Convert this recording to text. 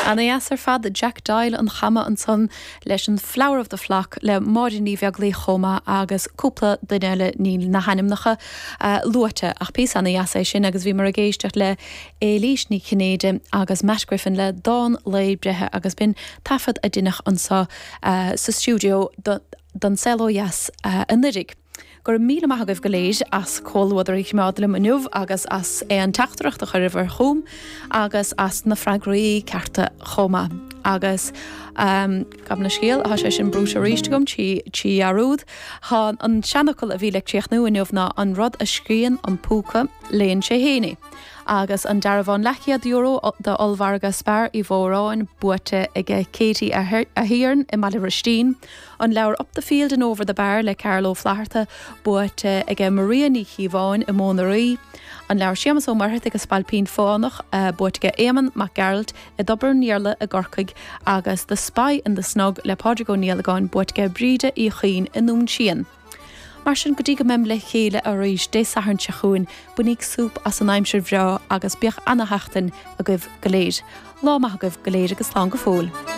Ana dheas ar fad, Jack Doyle an Chama ansan leis an Flower of the Flock le Máire Ní Bheaglaoich chomh maith agus cúpla duine eile, níl na hainmneacha luaite ach píosa ana dheas é sin agus bhíomar ag éisteacht le Éilís Ní Chinnéide agus Matt Griffin le dán lae breithe agus b'in taifead a deineadh anso sa stiúideo don Saol Ó Dheas anuiridh. Go raibh míle maith agaibh go léir as comhluadar a choimeád liom inniu agus as aon teachtaireacht a chuireabhair chugam agus as na freagraí cearta chomh maith. Agus gabh mo leithscéal, tá sé sin brúite arís agam trí dhearúd. Tá an seanfhocal a bhí le críochnú inniu ná an rud a scríonn an púca, léann sé féin é. Agus an dearbhán leathchéad euro d'ollmhargadh Spar Uí Mhóráin buaite aige Katie Ahern i mBaile Bhruistín. An leabhar Up the Field and Over the Bar le Carl Ó Flatharta buaite aige Maria Ní Chíobháin i Móin na Rí. An leabhar Séamus Ó Muircheartaigh An Spailpín Fánach buaite aige Éamonn Mac Gearailt i dTobar an Iarla i gCorcaigh agus The Spy in the Snug le Pádraig Ó Niallagáin buaite aige Bríde Uí Chuinn i nDún Síon. Mar sin, go dtí go mbeim le chéile arís Dé Sathairn seo chugainn, bainíg súp as an aimsir bhreá agus bíodh ana-sheachtain agaibh go léir. Lá maith agaibh go léir agus slán go fóill.